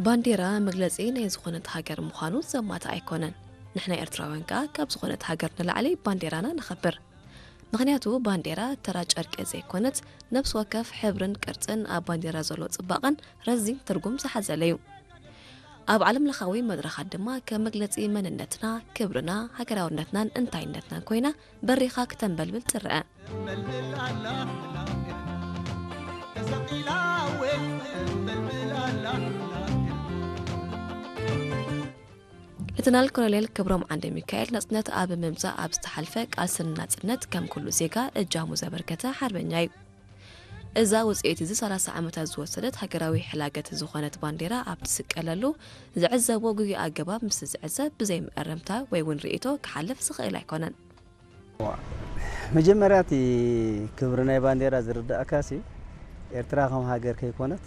ባንዴራ መግለጺ ናይ ዝኾነት ሃገር ምዃኑ ዘማትእ ኣይኮነን። ንሕና ኤርትራውያን ከኣ ካብ ዝኾነት ሃገር ንላዕሊ ባንዴራና ነኸብር። ምኽንያቱ ባንዴራ ተራ ጨርቂ ዘይኮነት፣ ነፍሲ ወከፍ ሕብርን ቅርጽን ኣብ ባንዴራ ዘሎ ጽባቐን ረዚን ትርጉም ዝሓዘለ እዩ። ኣብ ዓለም ለኻዊ መድረኻት ድማ ከም መግለጺ መንነትና፣ ክብርና፣ ሃገራውነትናን እንታይነትናን ኮይና በሪኻ ክተንበልብል ትረአ። ሌተናል ኮሎኔል ክብሮም ዓንደ ሚካኤል ናጽነት ኣብ ምምጻእ ኣብ ዝተሓልፈ ቃልሲ ንናጽነት ከም ኩሉ ዜጋ እጃሙ ዘበርከተ ሓርበኛ እዩ። እዛ ውጽኢት እዚ ሰላሳ ዓመታት ዝወሰደት ሃገራዊ ሕላገት ዝኾነት ባንዴራ ኣብ ትስቀለሉ ዝዕዘቦ ጉጉይ ኣገባብ ምስ ዝዕዘብ ብዘይ መእረምታ ወይ እውን ርእይቶ ክሓልፍ ዝኽእል ኣይኮነን። መጀመርያ እቲ ክብሪ ናይ ባንዴራ ዝርዳእካሲ ኤርትራ ከም ሃገር ከይኮነት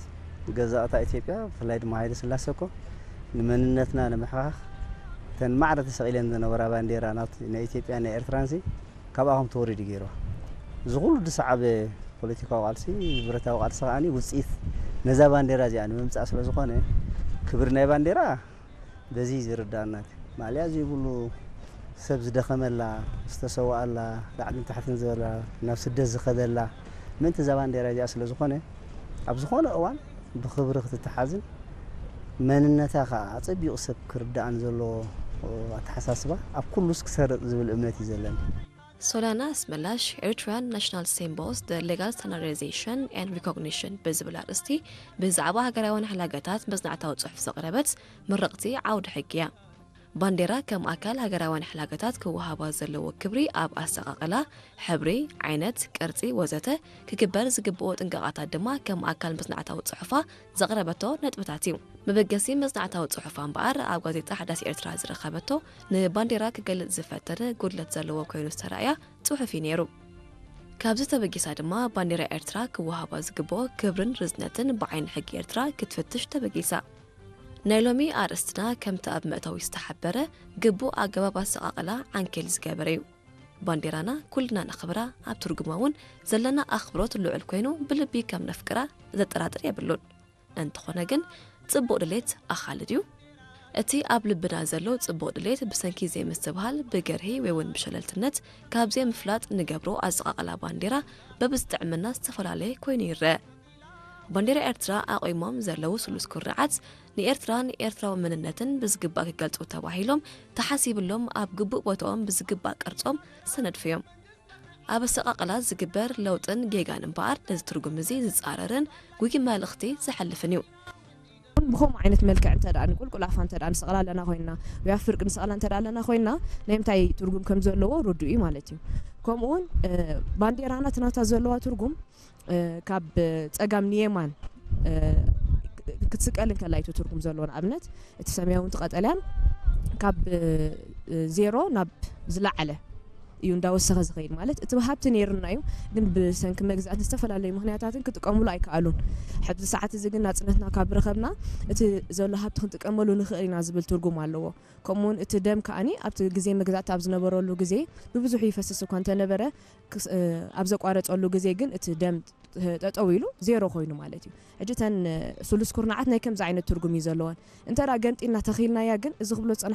ገዛእታ ኢትዮጵያ ብፍላይ ድማ ሃይለ ስላሴ እኮ ንመንነትና ንምሕኻኽ እተን ማዕረ ተሰቒለን ዝነበራ ባንዴራ ናይ ኢትዮጵያ ናይ ኤርትራንሲ ካብኣ ከም ተወሪዱ ገይርዋ። እዚ ኩሉ ዝሰዓበ ፖለቲካዊ ቃልሲ፣ ብረታዊ ቃልሲ ከኣ ውፅኢት ነዛ ባንዴራ እዚኣ ንምምፃእ ስለ ዝኾነ ክብሪ ናይ ባንዴራ በዚ ዝርዳእና ማልያ ዘይብሉ ሰብ ዝደኸመላ ዝተሰዋኣላ ላዕልን ታሕትን ዝበላ ናብ ስደት ዝኸደላ ምእንቲ እዛ ባንዴራ እዚኣ ስለ ዝኾነ ኣብ ዝኾነ እዋን ብኽብሪ ክትተሓዝን መንነታ ከዓ ኣፀቢቑ ሰብ ክርዳእን ዘለዎ ኣተሓሳስባ ኣብ ኩሉስ ክሰርጥ ዝብል እምነት እዩ ዘለኒ። ሶሊያና ኣስመላሽ Eritrean National Symbols, the Legal Standardization and Recognition ብዝብል ኣርእስቲ ብዛዕባ ሃገራውያን ሕላገታት መጽናዕታዊ ጽሑፍ ዘቕረበት ምርቕቲ ዓውዲ ሕጊ እያ። ባንዴራ ከም ኣካል ሃገራውያን ሕላገታት ክወሃባ ዘለዎ ክብሪ ኣብ ኣሰቓቕላ፣ ሕብሪ፣ ዓይነት፣ ቅርጺ ወዘተ ክግበር ዝግብኦ ጥንቃቓታት ድማ ከም ኣካል መጽናዕታዊ ጽሑፋ ዘቕረበቶ ነጥብታት እዩ። መበገሲ መጽናዕታዊ ጽሑፋ እምበኣር ኣብ ጋዜጣ ሓዳስ ኤርትራ ዝረኸበቶ ንባንዴራ ክገልጽ ዝፈተነ ጉድለት ዘለዎ ኮይኑ ዝተራእያ ጽሑፍ እዩ ነይሩ። ካብዚ ተበጊሳ ድማ ባንዴራ ኤርትራ ክወሃባ ዝግብኦ ክብርን ርዝነትን ብዓይኒ ሕጊ ኤርትራ ክትፍትሽ ተበጊሳ። ናይ ሎሚ ኣርእስትና ከምቲ ኣብ መእተዊ ዝተሓበረ ግቡእ ኣገባብ ኣሰቓቕላ ዓንኬል ዝገበረ እዩ። ባንዴራና ኩልና ነኽብራ፣ ኣብ ትርጉማ እውን ዘለና ኣኽብሮት ልዑል ኮይኑ ብልቢ ከም ነፍቅራ ዘጠራጥር የብሉን። እንተኾነ ግን ጽቡቕ ድሌት ኣኻሊ ድዩ? እቲ ኣብ ልብና ዘሎ ጽቡቕ ድሌት ብሰንኪ ዘይምስትብሃል፣ ብገርሂ ወይ እውን ብሸለልትነት ካብ ዘይምፍላጥ ንገብሮ ኣሰቓቕላ ባንዴራ በብዝጥዕምና ዝተፈላለየ ኮይኑ ይረአ። ባንዴራ ኤርትራ ኣቑሞም ዘለዉ ስሉስ ኩርዓት ንኤርትራን ኤርትራዊ መንነትን ብዝግባእ ክገልጹ ተባሂሎም ተሓሲብሎም ኣብ ግቡእ ቦታኦም ብዝግባእ ቅርጾም ዝተነድፉ እዮም። ኣብ ኣሰቓቕላ ዝግበር ለውጥን ጌጋን እምበኣር ነዚ ትርጉም እዚ ዝጻረርን ጉጊ መልእኽቲ ዘሕልፍን እዩ። ብኸምኡ ዓይነት መልክዕ እንተ ደኣ ንቁልቁል ኣፋ እንተ ደኣ ንሰቕላ ኣለና ኮይንና ወይ ኣብ ፍርቂ ንሰቕላ እንተ ደኣ ኣለና ኮይንና ናይ ምንታይ ትርጉም ከም ዘለዎ ርዱእ እዩ ማለት እዩ። ከምኡ እውን ባንዴራና እቲ ናታ ዘለዋ ትርጉም ካብ ጸጋም ንየማን ክትስቀል እንከላ እዩ ትርጉም ዘለዎ። ንኣብነት እቲ ሰማያዊ እቲ ቀጠልያን ካብ ዜሮ ናብ ዝለዓለ እዩ እንዳወሰኸ ዝኸይድ። ማለት እቲ ሃብቲ ነይሩና እዩ፣ ግን ብሰንኪ መግዛእትን ዝተፈላለዩ ምክንያታትን ክጥቀምሉ ኣይከኣሉን። ሕዚ ሰዓት እዚ ግን ናፅነትና ካብ ረኸብና እቲ ዘሎ ሃብቲ ክንጥቀመሉ ንኽእል ኢና ዝብል ትርጉም ኣለዎ። ከምኡውን እቲ ደም ከኣኒ ኣብቲ ግዜ መግዛእቲ ኣብ ዝነበረሉ ግዜ ብብዙሑ ይፈስስ እኳ እንተነበረ ኣብ ዘቋረፀሉ ግዜ ግን እቲ ደም ጠጠው ኢሉ ዜሮ ኮይኑ ማለት እዩ። ሕጂ እተን ስሉስ ኩርናዓት ናይ ከምዚ ዓይነት ትርጉም እዩ ዘለወን። እንተ ገንጢልና ተኺልናያ ግን እዚ ክብሎ